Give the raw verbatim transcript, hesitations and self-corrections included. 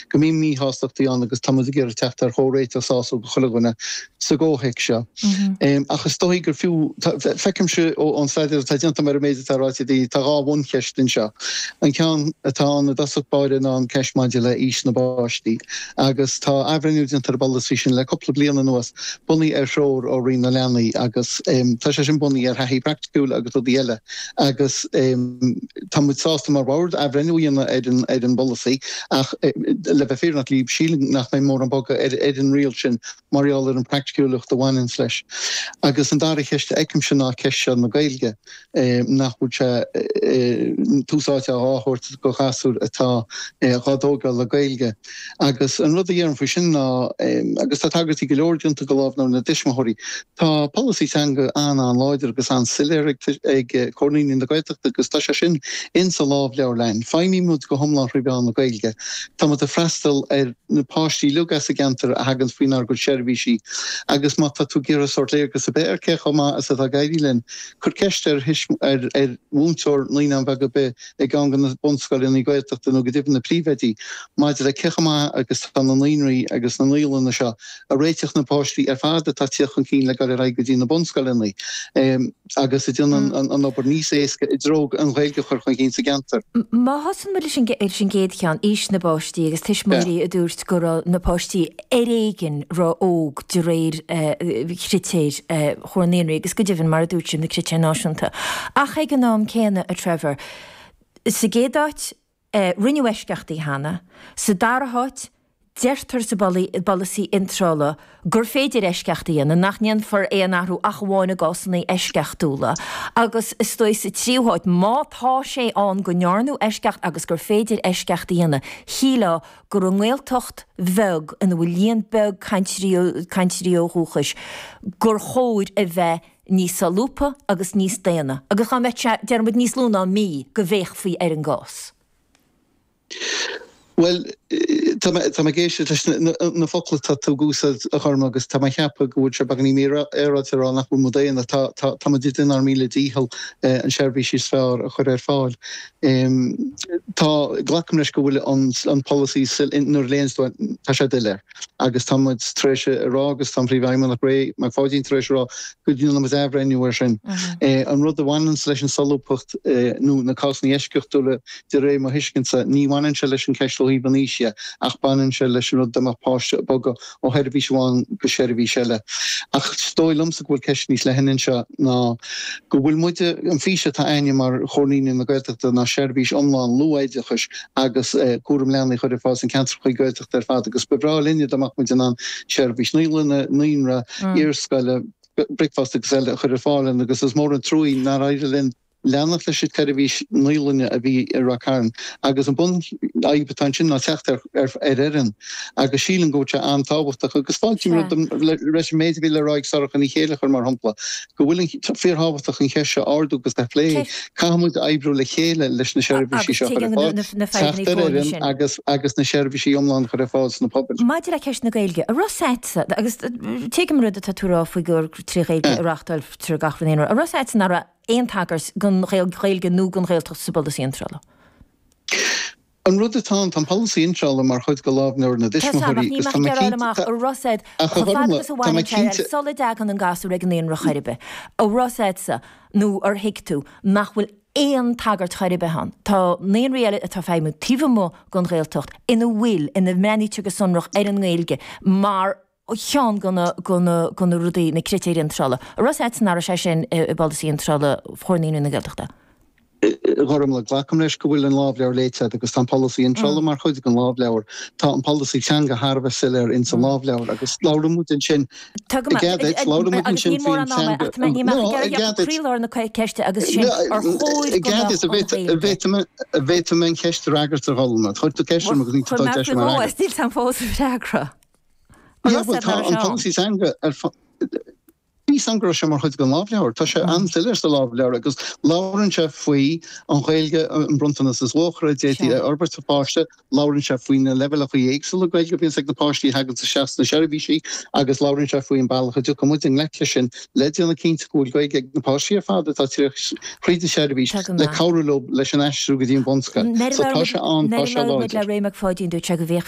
go mbíonn míshástachtaí ann agus tá muid ag iarraidh teacht ar chomhréiteach sásúil do chuile dhuine sa gcomhthéacs seo. Ach is dóigh gur fiú, feicimse ón staidéar atá déanta mar an méid atá ráite di, tá dhá bhuncheist anseo. An ceann atá ann i dtosach báire ná an ceist maidir le aois na bpáistí. Agus tá athbhreithniú déanta ar an bpolasaí sin le cúpla bliain anuas, bunaithe ar threoir ó Roinn na Leanaí agus tá sé sin bunaithe ar thaithí praiticiúil agus rudaí eile agus tá muid sásta mar bhord athbhreithniú a dhéanamh ar an ar an bpolasaí ach le bheith fírinneach libh, sílim nach mbeidh mórán bogadh ar ar an riail sin mar gheall ar an praiticiúlacht a bhaineanns leis. Agus an dara ceist a fheicimse ná ceist seo na Gaeilge, nach bhfuil sé tús áite á thabhairt do ghasúir atá dhá dtógáil le Gaeilge. Agus an rud a dhéarfainn faoi sin ná, agus tá tagairtí go leor déanta go Lámhleabhar na dTuismitheoirí, tá polasaí teanga an-an-láidir agus an-soiléir ag Comhar Naíonraí na Gaeltachta agus tá sé sin insa lámhleabhar. Feidhmímid go hiomlán thrí mheán na Gaeilge. Tá muid ag freastal ar na páistí uilig as an gceantar a thagann faoinár gcuid seirbhísí agus má tá tú ag iarraidh sórt léargas ar bith ar cé chomh maith is atá ag éirí linn, cuir ceist ar ar mhúinteoir naíonán bheag ar bith i gceann de na bunscoileanna Gaeltachta nó go deimhin na príomhoidí maidir le cé chomh maith agus atá na naíonraí agus na naíolanna seo ag réiteach na páistí ar fad atá ag tíocht chun cinn le dul ar aghaidh go dtí na bunscoileanna agus a dhéanann an obair níos éasca i dtreo an Ghaeilge a chur chun cinn sa gceantar. Má thosaíonn muid leis an gcéad cheann, aois na bpáistí agus tuismitheoirí a dúirt go raibh na páistí ar éigin ró-óg de réir chritéir Chomhar Naíonraí agus go deimhin, mar a dúirt sibh, na critéir náisiúnta. Ach ag an am céanna, a Trevor, sa gcéad áit, rinneadh eisceachtaí cheana, sa dara háit, deirtear sa bpolasaí iontrála gur féidir eisceacht a dhéanamh, nach ndéanfar aon athrú ach amháin i gcásanna eisceachtúla agus is dóigh sa tríú háit, má tá sé ann go ndearnadh eisceacht agus gur féidir eisceacht a dhéanamh, shílfeá gur i nGaeltacht bheag ina bhfuil líon beag cainteoirí ó dhúchais gur chóir a bheith níos solúbtha agus níos daonna agus dá mbeadh sé, déarfaidh muid, níos lú ná mí go bhféachfaí ar an gcás. Bhuel, tá mé ag éisteacht leis na focla atá tú ag úsáid, a Ghorm, agus tá mé ag ceapadh go bhfuil sé beagáinín mífhéaráilte a rá nach bhfuil muid daonna. Tá muid ag déanamh ár míle dícheall an seirbhís is fearr a chur ar fáil. Tá, glacaim leis go bhfuil an polasaí nuair a léanns tú é, tá sé doiléir. Agus tá muid tar éis a rá, agus tá an Príomhfheidhmeannach Ray Mac Pháidín tar éis a rá, go ndéanfaidh muid athbhreithniú air sin. An rud a bhaineanns leis an solúbthacht nó na cásanna eisceachtúla, De réir mo thuiscintse, ní bhaineann sé leis an cheist ó thaobh an aois dhe, ach baineann sé leis an rud dá mbeadh páiste ag bogadh ó sheirbhís amháin go seirbhís eile. Ach is dóigh liomsa go bhfuil ceist níos leithne anseo ná go bhfuil muide, an fís atá a'inne mar Chomhar Naíonraí na Gaeltachta ná seirbhís iomlán luathoideachais agus cúram leanaí a chur ar fáil sna ceantracha Gaeltachta ar fad agus ba bhreá linne dá mbeadh muid in ann seirbhís naíolainne, naíonra, iarscoile, bricfeasta agus eile a chur ar fáil agus is mór an truaí nár éirigh linn leanacht leis an tseirbhís naíolainne a bhí i Ráth Cairn agus an bunfhadhb atá ansin ná teacht ar fhoireann agus sílim go bhfuil sé an-tábhachtach agus fáiltím leis an méid a bhí le rá ag Sorcha Ní Chéilleachair mar shampla go bhfuil an fíorthábhachtach an cheist seo a ardú agus a phlé. Caithfidh muid oibriú le chéile leis na seirbhísí seo a chur ar fáil, teacht ar fhoireann agus agus na seirbhísí iomlán a chur ar fáil sna pobail. Maidir le ceist na Gaeilge, an raibh a fhios a'dsa, agus tuigim an rud atá tú a rá faoi gur trí Ghaeilge a reáchtáiltear gach rud, an raibh a fhios a'dsa nach raibh aon tagairt don Ghaeilge nó don Ghaeltacht sa bpolasaí iontrála. An rud atá ann, tá an polasaí iontrála mar chuid de Lámhleabhar na Tá a fhios a'm, ach dTuismitheoirí níl agus mé tá ag mé iarraidh fháil cinnte, amach, an raibh a fhios a'd, ach a chomh fada Ghormfhlaith, agus a tá mé bhaineann sé cinnte, sula dtagann an gasúr ag an naíonra chor ar bith, an raibh a fhios a'dsa nó ar thuig tú nach bhfuil aon tagairt chor ar bith ann. Tá naíonraí eile atá ag feidhmiú taobh amuigh den Ghaeltacht ina bhfuil, ina mbreathnaítear go sonrach ar an nGaeilge mar cheann de na, de na, de na rudaí, na critéir iontrála. An raibh a fhios a'dsa nach raibh sé sin i bpolasaí iontrála Chomhar Naíonraí na Gaeltachta? A Ghormfhlaith, glacaim leis go bhfuil an lámhleabhar léite agat agus tá an polasaí iontrála mar chuid den lámhleabhar. Tá an polasaí teanga thar a bheith soiléir ins an lámhleabhar agus labhrann muid ansin, Tá go i maith, gcead duit, labhrann muid agus ansin níl faoin mórán ama, teanga, ach tá mé, níl mé ach no, ag i iarraidh gcead duit, croílár na ceiste agus sin no, ar chóir i go gcead mbeadh duit, an Ghaeilge. an bhféadfaidh mé an cheist a fhreagairt a Ghormfhlaith. Chuir tú ceist orm agus níl tú Chuir dul mé deis faoi mar dhó fhreagairt. is níl 'am fós a freagra. An Yeah, raibh bhuel a fhios a'd tá nach raibh an sé ann? polasaí teanga ar fáil. Bhí 'fhios a'm go raibh sé mar chuid den lámhleabhar. Tá sé an-soiléir sa lámhleabhar agus labhrann sé faoi an Ghaeilge, an bronntanas is luachmhaire a d'fhéadfaí Sea. a fhorbairt do pháiste, labhrann sé faoi na leibhéalacha éagsúla Gaeilge a bhíonns ag na páistí a thaganns isteach sna seirbhísí agus labhrann sé faoi an bealach a dtiocfaidh muid i ngleic leis sin le déanamh cinnte go bhfuil Gaeilge ag na páistí ar fad atá ag tíocht thríd an tseirbhís Tá go le maith. cabhrú leo leis an aistriú go dtí an bhunscoil. Nuair a So tá labhair sé ann, muid tá nuair a sé labhair muid le láidir. Ray Mac Pháidín dúirt sé go bhféachfaí